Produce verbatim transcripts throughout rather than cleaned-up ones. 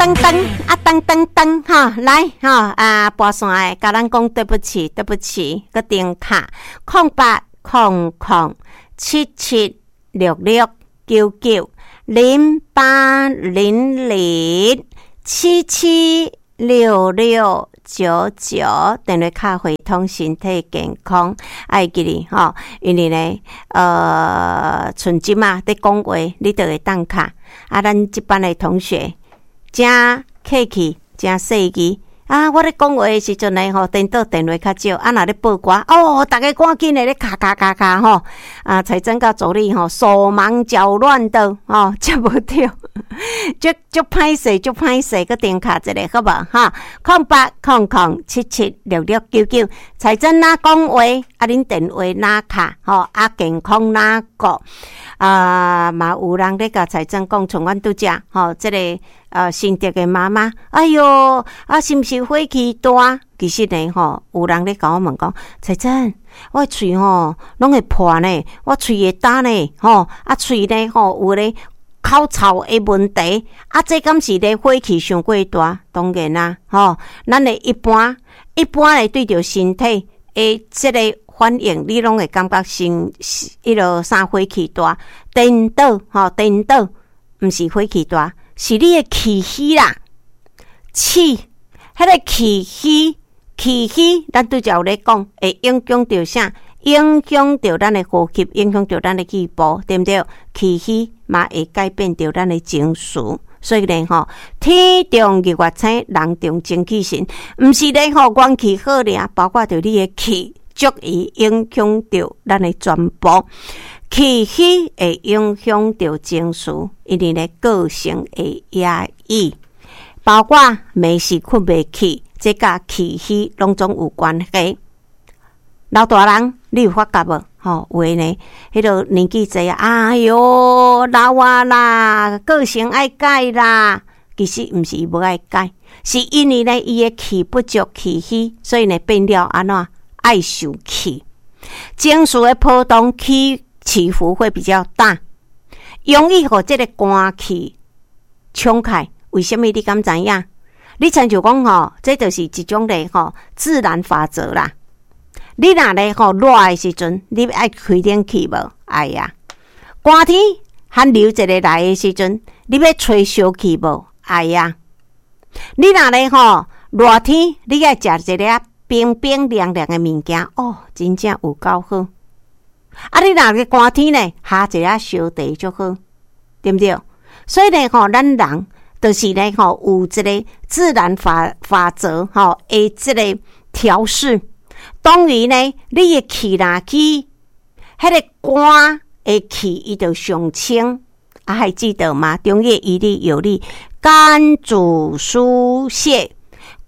噔噔啊，噔噔噔，哈，來哈啊，撥線的，共咱講對不起，對不起，閣重敲空八空空七七六六九九零八零零七七六六九九，電話卡會通身體健康，愛記得吼，因為呢，呃，像這馬佇講話，你就會當敲。啊，咱這班的同學誠客氣，誠細膩。啊，我咧講話的時陣呢，吼，顛倒電話較少。啊，若咧播歌，哦，逐家趕緊的咧敲敲敲敲吼。啊，彩珍佮助理吼，手忙腳亂的，吼，接無著，足足歹勢，足歹勢，閣重敲一下好無？哈，空八空空七七六六九九，彩珍若講話，啊，恁電話若敲，吼，啊，健康若顧，啊，嘛有人咧共彩珍講，像阮拄才，吼，這个呃，新竹的媽媽，哎喲，啊，是毋是火氣大？其實呢，吼，有人咧共我問講，彩珍，我的喙吼攏會破呢，我喙會焦呢，吼，啊，喙呢，吼，有咧口臭的問題，啊，這敢是咧火氣傷過大？當然啦，吼，咱的一般一般的對著身體的這个反應，你攏會感覺先彼落啥火氣大？顛倒，吼，顛倒，毋是火氣大。是你的氣虛啦，氣，彼个氣虛，氣虛，咱拄才有咧講，會影響著啥？影響著咱的呼吸，影響著咱的氣部，對毋對？氣虛嘛會改變著咱的情緒，所以呢，吼，天動日月星，人動精氣神，毋是咧吼，元氣好爾，包括著你的氣，足以影響著咱的全部。氣虛會影響著情緒，因為呢個性會壓抑，包括暝時睏袂去，這佮氣虛攏總有關係。老大人，你有發覺無？吼，有的呢，彼个年紀濟啊，哎喲，老啊啦，個性愛改啦。其實毋是伊無愛改，是因為呢，伊的氣不足，氣虛，所以呢變了按怎愛受氣，情緒的波動起起伏會比較大，容易予這个寒氣衝開。為啥物你敢知影？你親像講吼，這就是一種咧吼自然法則啦。你若咧吼熱的時陣，你愛開冷氣無？愛啊。寒天寒流一个來的時陣，你欲吹燒氣無？愛啊。你若咧吼熱天，你愛食一个冰冰涼涼的物件，哦，真正有夠好。啊！你若個寒天呢，喝一下燒茶就好，對毋對？所以呢，吼，咱人就是呢，吼，有這个自然法法則，吼，的這个調適。當然呢，你的氣若去，彼个寒的氣，伊就上清。啊，還記得嗎？中醫醫理藥理，肝主疏泄，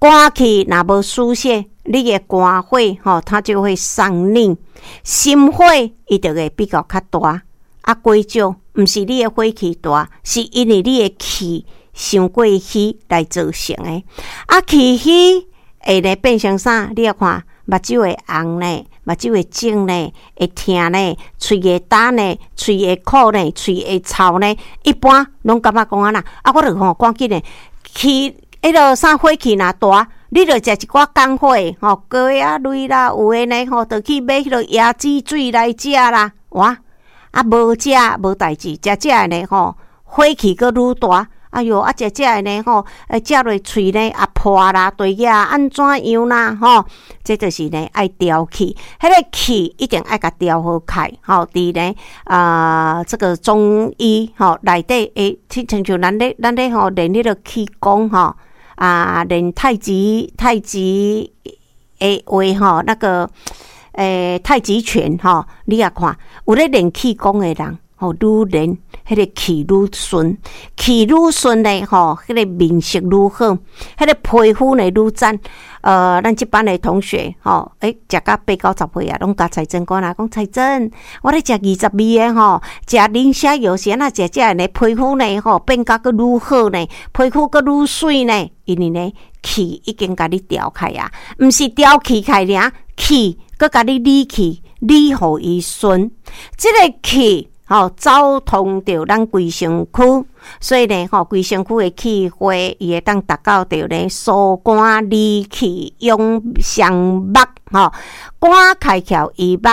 寒氣若無疏泄，你的肝火吼，它就會上逆，心火伊就會比較較大。啊，歸少毋是你的火氣大，是因為你的氣傷過虛來造成的。啊，氣虛會咧變成啥？你要看目睭會紅呢，目睭會腫呢，會疼呢，喙會焦呢，喙會苦呢，喙會臭呢。一般攏感覺講按怎？啊，我就吼趕緊的氣，彼落啥火氣若大，你著食一寡降火的吼，高壓類啦，有的呢吼，就去買彼落椰子水來食啦。哇，啊無食無代誌，食食的呢吼，火氣閣愈大。哎喲，啊食食的呢吼，食落喙呢啊破啦，對額按怎樣啦吼？這就是呢愛調氣，彼个氣一定愛共調好開吼。佇呢啊，這個中醫吼內底會，親像咱咧咱咧吼練彼个氣功吼。啊，練太極太極的話吼，那個欸太極拳吼，你也看有咧練氣功的人吼，愈練彼个氣愈順，氣愈順呢吼，彼个面色愈好，彼个皮膚呢愈讚。呃，咱這班的同學吼，欸，食甲八九十歲啊，攏共彩珍講啦，講彩珍，我咧食二十味的吼，食磷蝦油是按怎食食的呢？皮膚呢吼變甲閣愈好呢，皮膚閣愈媠呢，因為呢氣已經共你調開啊，毋是調氣開爾，氣閣共你理氣，理予伊順，這个氣吼，走通著咱規身軀，所以呢，吼，規身軀的氣血，伊會當達到著呢，疏肝理氣、養生目，吼，肝開竅醫目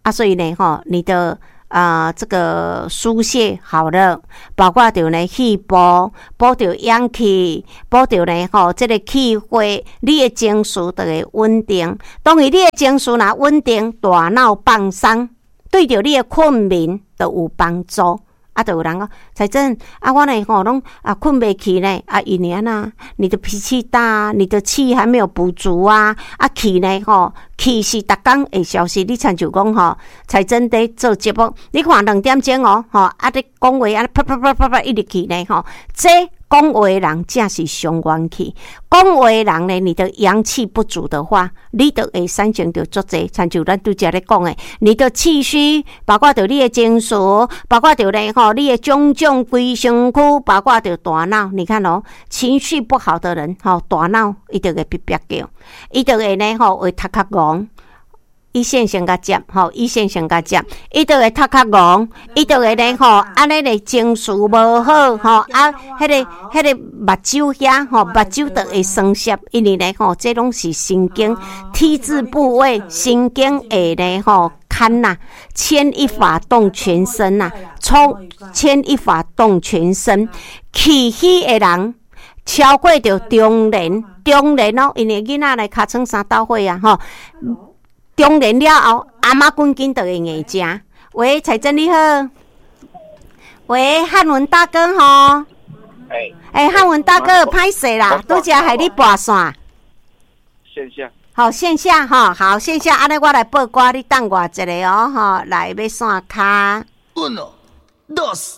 啊，所以呢，吼，你的啊，這個疏泄好了，包括著呢氣補，補著陽氣，補著呢吼，這個氣血，你的情緒就會穩定。當然，你的情緒若穩定，大腦放鬆，對著你的困眠就有幫助。啊，就有人講，彩珍啊，我呢吼攏啊睏袂去呢，啊，因為按怎，你的脾氣大，你的氣還沒有補足啊，啊氣呢吼，氣是逐工會消失。你親像講吼，彩珍佇做節目，你看兩點鐘哦，吼，啊咧講話按呢啪啪啪啪啪一直去呢吼，這講話的人正是傷元氣。講話的人呢，你的陽氣不足的話，你就會產生著足濟，親像咱拄才咧講的，你的氣虛，包括著你的情緒，包括著咧吼，你的種種規身軀，包括著大腦。你看哦，情緒不好的人，吼，大腦伊就會煏煏叫，伊就會呢吼會頭殼戇。伊線先共接，吼，伊線先共接，伊就會頭殼戇，伊就會咧吼，按呢咧情緒無好，吼，啊，彼个彼个目睭遐，吼，目睭就會酸澀，因為咧吼，這攏是神經 T 字部位神經會咧吼牽呐，牽一髮動全身呐，衝牽一髮動全身，氣虛的人超過著中年，中年哦，因為囡仔來尻川三斗火啊，吼。中年了後，頷仔筋緊就會硬食。喂，彩珍你好。喂，漢文大哥吼。欸，欸，漢文大哥，歹勢啦，拄才害你撥線。線下。好，線下吼，好，線下，按呢我來報歌，你等我一下哦，吼，來欲線跤。 Uno, dos,